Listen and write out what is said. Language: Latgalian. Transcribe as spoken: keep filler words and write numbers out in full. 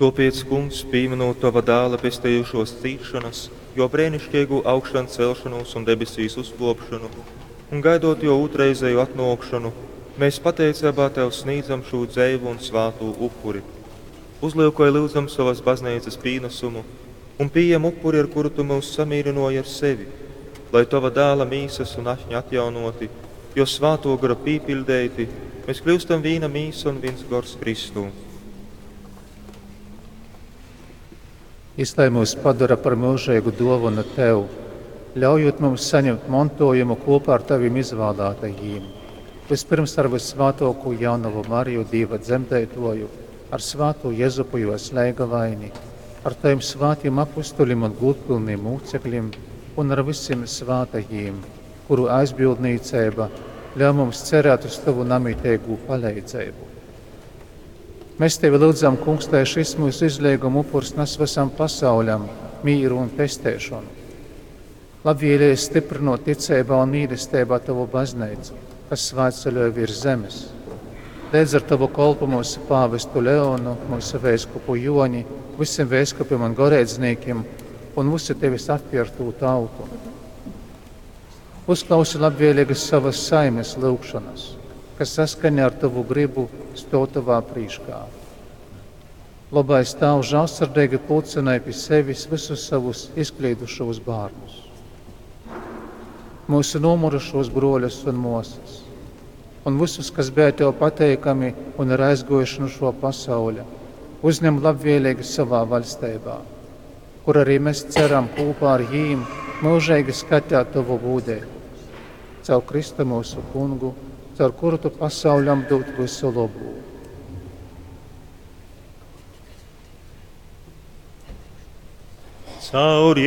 Tōpēc, Kungs, pīmynūt tova Dāla pestejušōs cīsšonas, jō breiniškeigū augšancelšonūs un debesīs uzkōpšonu un gaidot jō ūtrreizeju atnōkšonu, mēs pateiceibā tev snīdzam šū dzeivu un svātū upuri. Uzlyukoj, lyudzam, sovas bazneicas pīnasumu un pījem upuri, ar kuru tu myus samīrynōji ar sevi, lai, tova Dāla mīsas un ašņa atjaunōti, jō Svātō Gora pīpiļdeiti, mēs kļyustam vīna mīsa un vīns gors Kristū. Jys lai myus padora par myužeigu dōvonu tev, ļaujūt mums saņemt montōjumu kopā ar tavim izvālātajīm. Vispirms ar vyssvātōkū jaunovu Mariju, Dīva dzemdeitōju, ar svātū Jezupu jōs leigavaini, ar tavim svātim apustulim un gūdpylnim mūcekļim un ar vysim svātajīm, kuru aizbildnīceiba ļauj mums cerēt uz tavu namiteigū paleidzeibu. Mēs tevi lyudzam, Kungs, lai šis mūsu izleiguma upurs nes visam pasauļam mīru un pesteišonu. Labvēlīgi stiprinot ticeibā un mīlestībā tavu baznīcu, kas svētceļoja virs zemes. Līdz ar tavu kolpu mūsu pāvestu Leonu, mūsu vēskupu Joni, visiem vēskupiem un goreidzniekiem un visu tevis atpirkto tautu. Uzklausi labvēlīgas savas saimes lūgšanas, kas saskaņā ar tavu gribu stāv tavā prīškā. Labais Tēvs žēlsirdīgi pulcināja pie sevis visus savus izklīdušos bērnus, mūsu nomurušos broļus un māsas, un visus, kas bija tev pateikami un ir aizgojuši no šo pasauļa, uzņem labvēlīgi savā valstībā, kur arī mēs ceram kopā ar jīm mūžīgi skatīt tavu gūdību. Caur Kristu mūsu kungu, caur kuru tu pasauļam dod visu labu. Caur